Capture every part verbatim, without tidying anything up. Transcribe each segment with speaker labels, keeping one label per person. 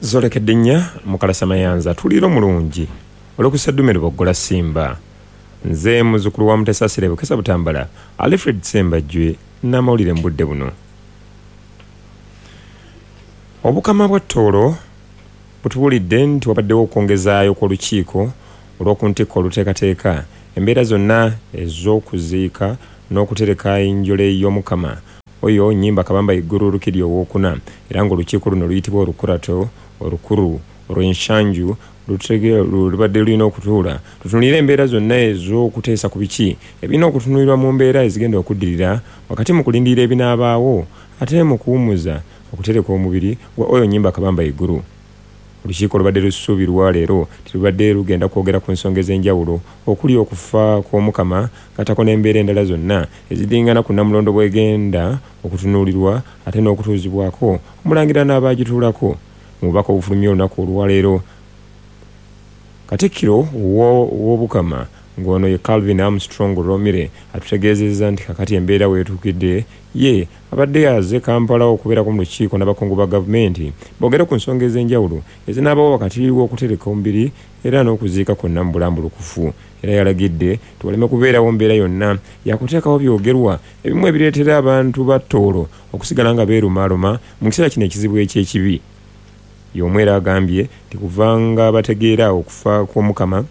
Speaker 1: Zolekedde nnya Mukalasa Mayanza, tuliiro mulungi olw'okusaddume Luboggola Simba. Nze muzzukulu wa Mutesaasira Bukesa Butambala, Alfred Ssembajjwe n'amawulire mu budde buno. Obukama bwa Tooro butubuulidde nti wabaddewo okwongezaayo kw'olukiiko olw'oku ntikko oluteekateeka embeera zonna ez'okuziika n'okutereka enjole y'Omukama oyo Nnyimba Kabamba Iguru Rukidi owookuna, era ng'olukiiko luno luyitibwa Olukurato Olukuru olw'Enshanju lubadde lulina okutuula tutunuulire embeera zonna ez'okuteesa ku biki ebirina okutunuulirwa mu mbeera ezigenda okuddirira wakati mu kulindirira ebinaabaawo ate mu kuwummuza okutereka omubiri gwa oyo Nnyimba Kabamba Iguru. Olukiiko lubadde lusuubirwa leero terubadde lugenda kwogera ku nsonga ez'enjawulo okuli okufa kw'Omukama gattako n'embeera endala zonna eziddingana ku Nnamulondo bw'egenda okutunuulirwa ate n'okutuuzibwako omulangira n'abaagituulako. Mu bubaka obufulumye olunaku olwaleero, Katikkiro w'Obukama ng'ono ye Calvin Armstrong Romire atutegeezezza nti kakati embeera weetuukidde ye abadde aze Kampala okubeerako mu lukiiko n'abakungu ba gavumenti boogere ku nsonga ez'enjawulo ezinaabawo wakati w'okutereka omubiri era n'okuziika kwonna mu bulambulukufu. Era yalagidde tiwaleme kubeerawo mbeera yonna yakuteekawo byogerwa ebimu ebireetera abantu ba Tooro okusigala nga beerumaaluma mu kiseera kino ekizibu eky'ekibi. Y'omu era agambye nti kubanga bategeera okufa kw'Omukama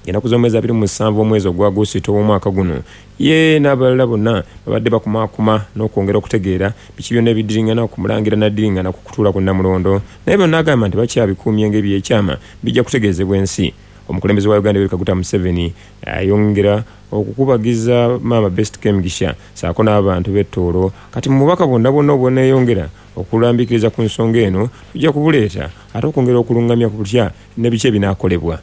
Speaker 1: ennaku z'omwezi abiri mu musanvu omwezi ogwa Agusito w'omwaka guno, ye n'abalala bonna babadde bakumaakuma n'okwongera okutegeera biki byonna ebiddiringana ku mulangira n'addiringana ku kutuula ku Nnamulondo, naye byonna agamba nti bakyabikuumye ng'ebyekyama bijja kutegeezebwa ensi. Omukulembeze wa Uganda Yoweri Kaguta Museveni ayongera okukubagiza Maama Best Kemigisha ssaako n'abantu b'e Tooro. Kati mu bubaka bwonna bwonna obweneeyongera okulambikiriza ku nsonga eno tujja kubuleeta ate okwongera okulungamya ku butya ne biki ebinaakolebwa.